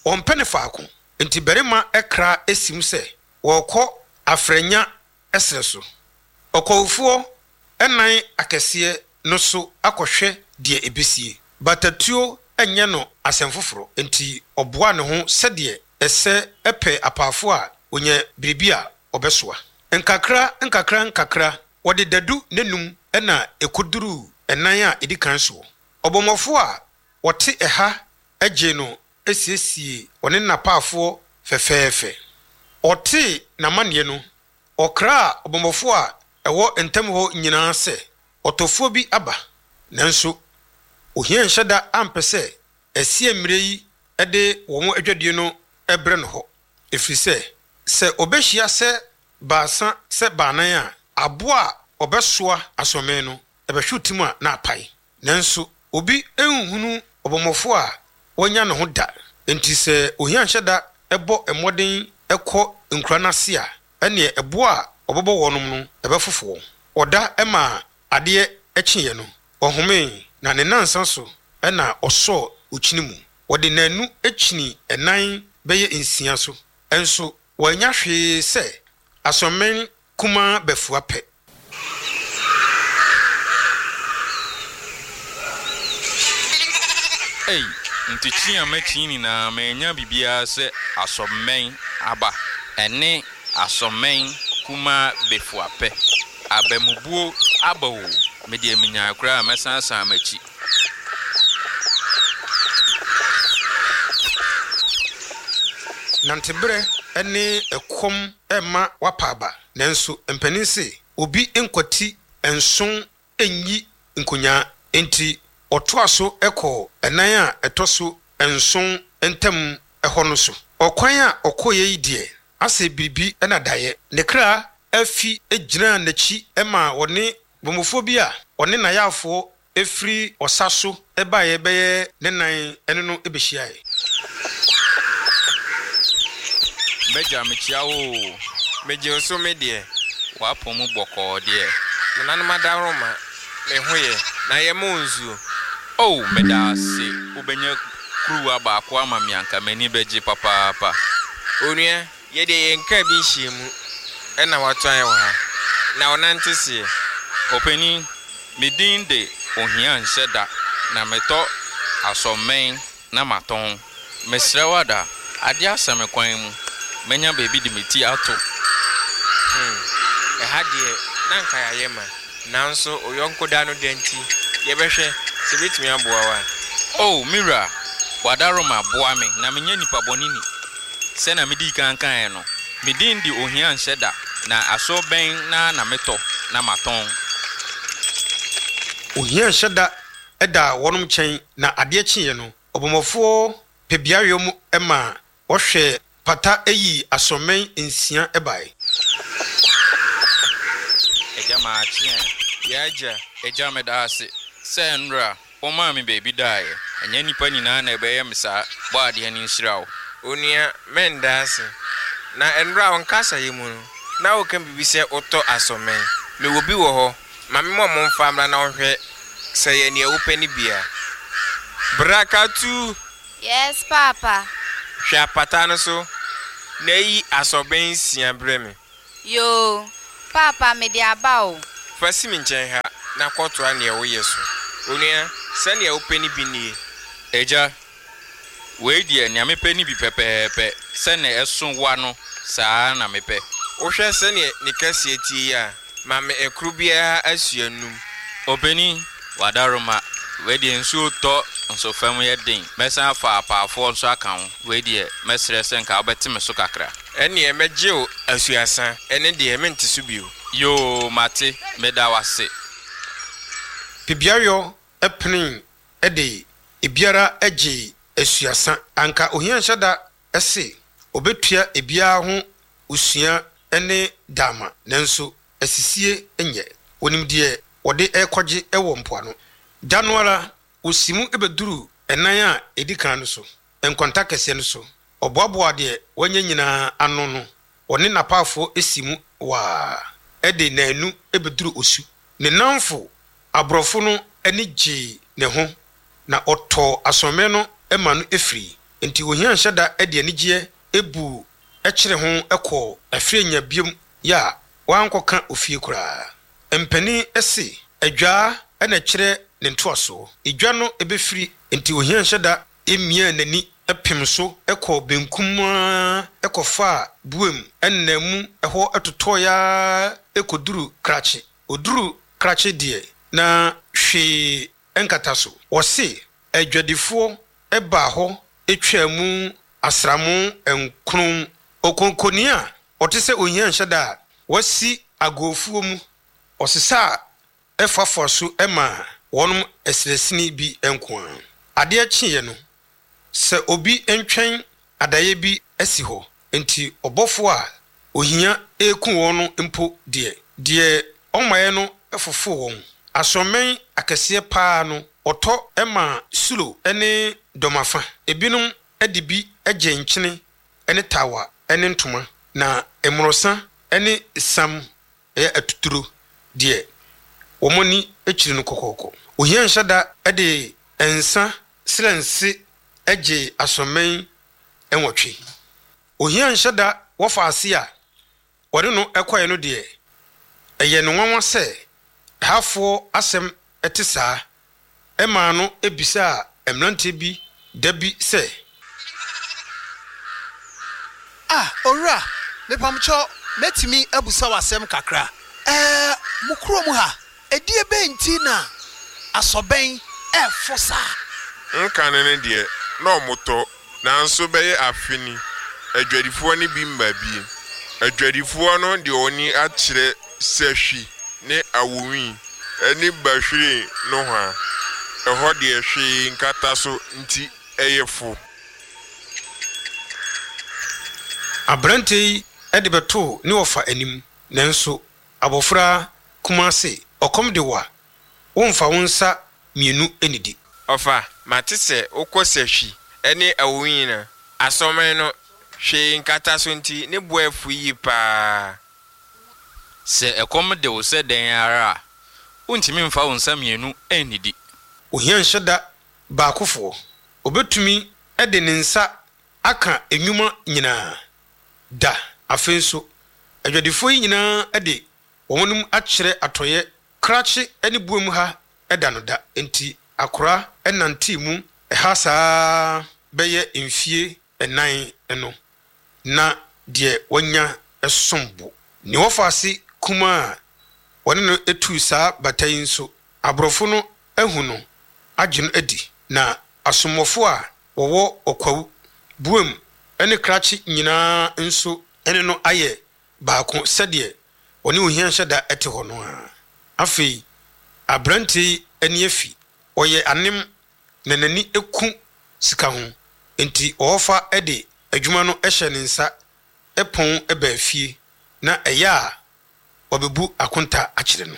Wɔmpɛ no faako, enti barima kra sim sɛ wɔrekɔ Afrɛnya serɛ so. Ɔkɔwofoɔ nan akɛseɛ no so akɔhwɛ deɛ ɛbɛsie. Batatuo nyɛ no asɛm foforɔ, enti ɔboa ne ho sɛdeɛ ɛsɛ pɛ apaafoɔ a ɔnya biribi a ɔbɛsoa. Nkakra nkakra nkakra, wɔde dadu nnanum na ɛkɔduruu nan a ɛdi kan soɔ. Ɔbɔmmɔfoɔ a wɔte ɛha gyee no siesiee ɔne n'apaafoɔ fɛfɛɛfɛ. Ɔtee n'amanneɛ no, ɔkraa ɔbɔmmɔfoɔ a ɛwɔ ntam hɔ nyinaa sɛ ɔtɔfoɔ bi aba. Nanso ohia nhyɛ da ampɛ sɛ asiamire yi de wɔn adwadie no brɛ no hɔ, ɛfiri sɛ, sɛ ɔbɛhyia sɛ baasa sɛ baanan a, aboa a ɔbɛsoa asoɔmɛn no, ɛbɛhwe tim a na apae. Nanso obi nhunu ɔbɔmmɔfo a wanya ne ho da. Enti sɛ ohia nhyɛ da bɔ mmɔden kɔ nkura no ase a, ɛnneɛ ɛboɔ a ɔbɛbɔ wɔnom no, ɛbɛfofo wɔn. Ɔda maa adeɛ kyeeɛ no, ɔhomee, na ne nnansa so na ɔsɔɔ okyini mu. Wɔde nnanu kyinii ɛnan bɛyɛ nsia so, nso wɔannya hwee sɛ asoɔmmen kumaa bɛfua pɛ. Ei, nti kyi a makyi nyinaa mannya biribiara sɛ asɔmmɛn aba ɛne asɔmmɛn kumaa bɛfua pɛ. Abamubuo aba o, me deɛ menyae koraa a mɛsan asan m'akyi. Nanteberɛ ne ɛkɔm rema woapa aba. Nanso mpanin se, obi nkwati nson nyi nkonyaa. Enti ɔtoa so kɔɔ ɛnan a ɛtɔ so nson ntam hɔ no so. Ɔkwan a ɔkɔeɛ yi deɛ, asɛ biribi na daeɛ. Ne kra fi gyinaa n'akyi maa ɔne bɔmmɔfoɔ bi a ɔne n'ayaafoɔ firi ɔsa so baeɛ bɛyɛ ne nan ne no bɛhyiaeɛ. M'agya, mekyia wo oo. Megye wo so me deɛ. W'apɔ mu bɔkɔɔ deɛ. Nananom adaworoma, me ho yɛ. Na yɛma wo nsuo. Oh, meda ase. Wobɛnya kuruwa baako ama me anka m'ani bɛgye papaapa. Onua, Yɛ deɛ yɛn kra bi nhyiamu na wato ayɛ wɔ ha, na ɔnante seɛ. Ɔpanin, me din de Ohia Nhyɛ Da na metɔ asɔmmɛn na matɔn. Mesrɛ wo ada, adeɛ asa me kwan mu, mɛnya baabi de me ti ato. Hmm, ɛha deɛ na anka yɛayɛ ma, nanso wo yɔnko da no da nti, yɛbɛhwɛ sɛ ɛbɛtumi aboa wo a. Oh, me wura, w'adaworoma boa me na menyɛ nipa bɔne ni. Sɛnea midii kan kae no, me din de Ohia Nhyɛ Da, na aso bɛn na na metɔ na matɔn? Ohia Nhyɛ Da daa wɔnom nkyɛn, na adeɛ kyeeɛ no, ɔbɔmmɔfoɔ pɛ beaeɛ mu ma wɔhwɛɛ pata yii asoɔmɛn nsia bae. Agya makye ɛ. Yɛ agya. Agya meda ase sɛ nnora Womaa me baabi daeɛ. Ɛnyɛ nnipa nyinaa na ɛbɛyɛ me saa. Bɔ adeɛ no nhyira wo. Onua, mɛnda ase. Na ɛnora wo nkasayɛ mu no, na woka biribi sɛ wotɔ asɔmmɛn. Mewɔ bi wɔ hɔ. Ma me mmɔ mo mfa mmra na wonhwɛ sɛ ɛyɛ nea wopɛ no bi a. Bra Katu! Yes, paapa. Hwɛ apata no so na yi asɔbɛn nsia brɛ me. Yoo, paapa mede aba o. Fa si me nkyɛn ha na kɔtoa nea woyɛ so. Onua, sɛnea wopɛ no bi nie. Agya, wei deɛ nea mepɛ no bi pɛpɛɛpɛ, sɛnea ɛso wa no saa ara na mepɛ. Wohwɛ sɛnea ne kɛseɛ teɛ yi a, ma me ɛkoro biara asua num. Ɔpanin, w'adaroma, wei deɛ nsuo tɔ nso fam yɛ den, mɛsan afa apaafoɔ nso aka ho, wei deɛ mɛsrɛ sɛ nka wobɛte me so kakra. Ɛnneɛ mɛgye wo asuasa, ɛno deɛ mente so bio. Yoo, mate, meda wo ase. Pebiayɔ penee de ebiara gyee asuasa. Anka ohia nhyɛ da se obetua ebiara ho osua ne daama, nanso asisie nyɛ. Onim deɛ wɔde rekɔgye wɔ mpoano. Da no ara, osi mu bɛduruu ɛnan a edi kan no so, nkwanta kɛseɛ no so. Ɔboaboaa deɛ wanya nyinaa ano no, ɔne n'apaafoɔ si mu waa de nnanu bɛduru osu. Ne nnamfo aborɔfo no ani gyee ne ho, na ɔtɔɔ asoɔmmerɛ no ma no firii. Enti ohia nhyɛ da de anigyeɛ buu kyere ho kɔɔ Afirenya biom yɛ a wankɔka ofie koraa. Mpanin se, Adwaa na ɛkyerɛ ne ntoasoɔ. Edwa no bɛfiri, enti ohia nhyɛ da miaa n'ani pem so kɔɔ benkum ara kɔfaa Buem nna mu hɔ totɔeɛ ara kɔduruu Krakye. Ɔduruu Krakye deɛ, na hwee nkata so. Wɔse adwadifoɔ baa hɔ twaa mu asram nkron. Okonkoni a ɔte sɛ ohia nhyɛ da a wasi agofuo mu, ɔsesaa foafoa so maa wɔnom asinasini bi nko ara. Adeɛ kyeeɛ no, sɛ obi ntwɛn adaeɛ bi asi hɔ, enti ɔbɔfoɔ a ohia reku wɔn no mpo deɛ, deɛ ɔmmaeɛ no fofoo wɔn. Asoɔmmɛn akɛseɛ pa ara no, ɔtɔ maa Sulo ne Dɔmafa. Ebinom de bi gyee nkyene ne tawa ne ntoma, na mmorɔsa ne esiam yɛ atuturo deɛ, wɔn ani kyiri no kɔkɔɔkɔ. Ohia nhyɛ da de nsa srɛnse gyee asoɔmmɛn nwɔtwe. Ohia nhyɛ da wɔfa ase a wɔne no kɔeɛ no deɛ, ɛyɛ no nwanwa sɛ ɛhafoɔ asɛm te saa. Ɛmaa no bisaa mmeranteɛ bi da bi sɛ. Ah, owura, mepamkyɛw, mɛtumi abusa wo asɛm kakra? Ɛɛ, mo kurom ha, ɛdeɛ bɛn nti na asɔbɛn ɛfo saa? Nkane no deɛ, na wɔtɔ, nanso bɛyɛ afe ni, adwadifoɔ no bi mma bie. Adwadifoɔ no de wɔn ani akyerɛ sahwi ne awonwi ne bahwiren nohoa, ɛhɔ deɛ hwee nkata so nti ɛyɛ fo. Aberanteɛ yi de bɛtoo ne wɔfa anim, nanso abɔfra kumaa se, Ɔkɔm de wo a, womfa wo nsa mmienu nnidi. Ɔfa, mate sɛ wokɔ sahwi ne awonwi no, asɔmɛn no, hwee nkata so nti ne bo afu yie paa. Sɛ ɛkɔm de wo sɛ dɛn ara a, wuntumi mfa wo nsa mmienu nnidi. Ohia nhyɛ da baakofoɔ. Ɔbɛtumi de ne nsa aka nnwuma nyinaa da. Afei nso, adwadifoɔ yi nyinaa de wɔn anim akyerɛ atɔeɛ krakye ne buom ha da no da. Enti akora nantee mu ha saa ara bɛyɛ mfie nnan no. na deɛ wanya som bo. Ne wɔfaase kumaa a wɔne no tuu saa bata yi nso, aborɔfo no ahu no agye no adi, na asommɔfo a wɔwɔ Ɔkwawu, Buem ne Krakye nyinaa nso ne no ayɛ baako sɛdeɛ wɔne Ohia Nhyɛda te hɔ no ara. Afei aberanteɛ yi ani afi, ɔyɛ anem na n'ani ku sika ho, enti ɔɔfa de adwuma no hyɛ ne nsa pɔn baa fie na ɛyɛ a wabebu akonta akyerɛ no.